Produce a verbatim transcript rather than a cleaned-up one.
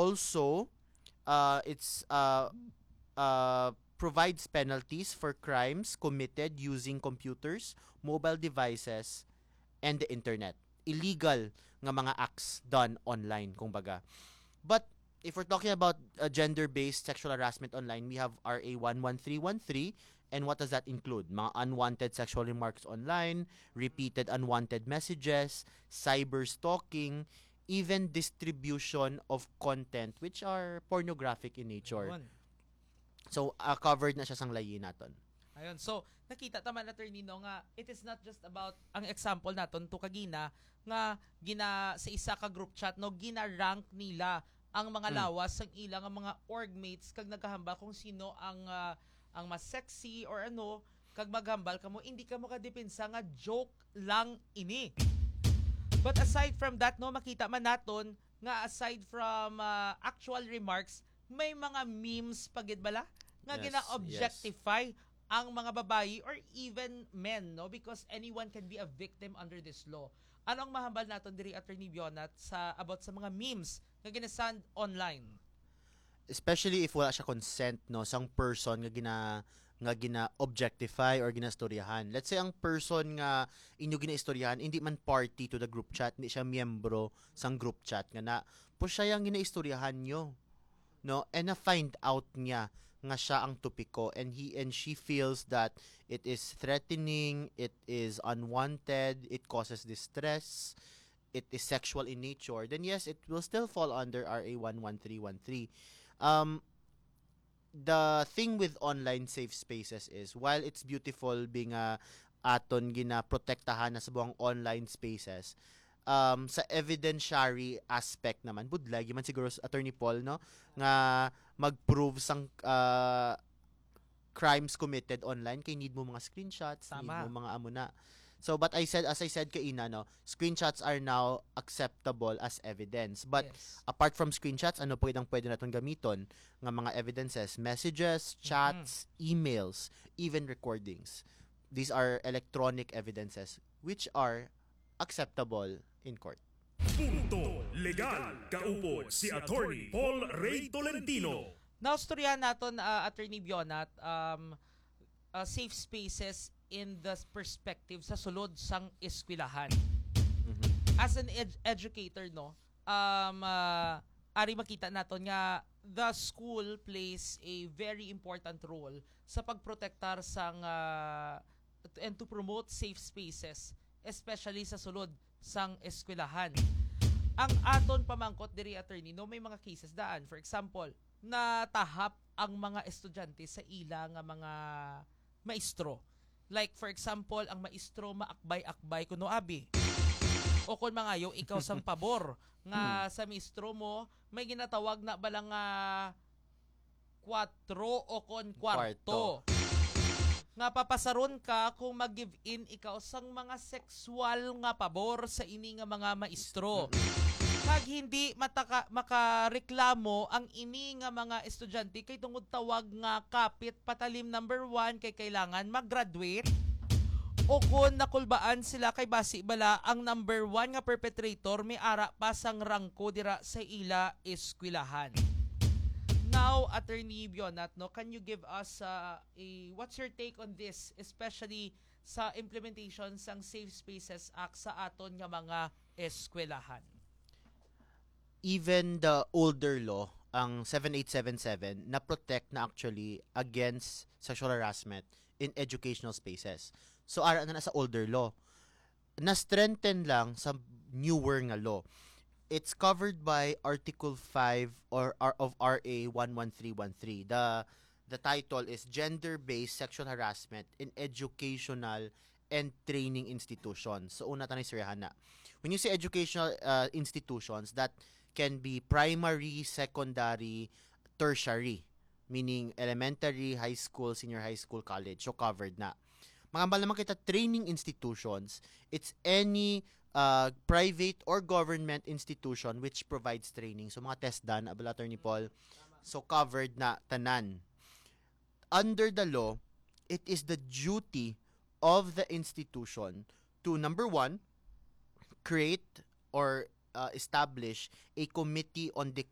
Also, uh, it's uh, uh, provides penalties for crimes committed using computers, mobile devices, and the internet. Illegal nga mga acts done online, kumbaga. But if we're talking about uh, gender-based sexual harassment online, we have R A one one three one three. And what does that include? Mga unwanted sexual remarks online, repeated unwanted messages, cyber stalking, even distribution of content which are pornographic in nature. Yun. So, uh, covered na siya sang layi naton. Ayun. So, nakita ta man, attorney, no, nga it is not just about ang example naton to kagina nga gina sa isa ka group chat, no, gina-rank nila ang mga Hmm. lawas sang ila nga mga orgmates kag nagahambal kung sino ang, ah, ang mas sexy or ano, kag maghambal kamo, hindi kamo kadepensa nga joke lang ini. But aside from that, no, makita man naton nga aside from, ah, actual remarks, may mga memes pa gid bala nga Yes, gina-objectify ang mga babayi or even men, no? Because anyone can be a victim under this law. Ano ang mahambal naton diri, Attorney Bionat, sa about sa mga memes nga ginasend online? Especially if wala siya consent, no, sang person nga gina-, nga gina-objectify or ginaistoryahan. Let's say ang person nga inyo ginaistoryahan hindi man party to the group chat, hindi siya miyembro sang group chat nga na, pero siya ang ginaistoryahan nyo, no? And na-find out niya nga siya ang topiko, and he and she feels that it is threatening, it is unwanted, it causes distress, it is sexual in nature, then yes, it will still fall under R A one one three one three. Um, the thing with online safe spaces is, while it's beautiful being a aton ginaprotektahan na sa buang online spaces, um, sa evidentiary aspect naman, budlay man siguro, Attorney Paul, no, nga mag-prove sang, uh, crimes committed online kay need mo mga screenshots, need Tama. mo mga amo na. So, but I said, as I said kaina, no, screenshots are now acceptable as evidence. But Yes. apart from screenshots, ano pa gid ang pwede naton gamiton nga mga evidences? Messages, Mm-hmm. chats, emails, even recordings. These are electronic evidences which are acceptable in court. Punto Legal, kaupod si Attorney Paul Ray Tolentino. Naustoryahan naton, ah, Attorney Bionat, um, ah, safe spaces in the perspective sa sulod sang eskwelahan. Mhm. As an ed-, educator, no, um, ah, ari makita naton nga the school plays a very important role sa pagprotektar sang, ah, and to promote safe spaces, especially sa sulod sang eskwelahan. Ang aton pamangkot diri, attorney, no, may mga cases daan. For example, natahap ang mga estudyante sa ila nga mga maestro. Like, for example, ang maestro maakbay-akbay kuno abi. O kon mangayo ikaw sang pabor nga Hmm. sa maestro mo, may ginatawag na bala nga kwatro o kon kwarto. Kwarto. Nga papasaron ka kung mag-give in ikaw sang mga sexual nga pabor sa ini nga mga maestro. Mm. Kag hindi mataka-, makareklamo ang ini nga mga estudyante kay tungod tawag nga kapit patalim number one kay kailangan mag-graduate. O kon nakulbaan sila kay basi bala ang number one nga perpetrator may ara pa sang rangko dira sa ila eskwelahan. Now, Attorney Bionat, no, can you give us, uh, a, what's your take on this, especially sa implementation sang Safe Spaces Act sa aton nga mga eskwelahan? Even the older law, ang seven eight seven seven, na-protect na actually against sexual harassment in educational spaces. So, ara na na sa older law. Na-strengthen lang sa newer nga law. It's covered by Article five or, or of R A one one three one three. The, the title is Gender-Based Sexual Harassment in Educational and Training Institutions. So, una ta na istoryahan na. When you say educational, uh, institutions, that can be primary, secondary, tertiary, meaning elementary, high school, senior high school, college. So, covered na. Mga hambal naman kita, training institutions, it's any, uh, private or government institution which provides training. So, mga TESDA na bala, Attorney Paul. So, covered na tanan. Under the law, it is the duty of the institution to, number one, create or, uh, establish a committee on the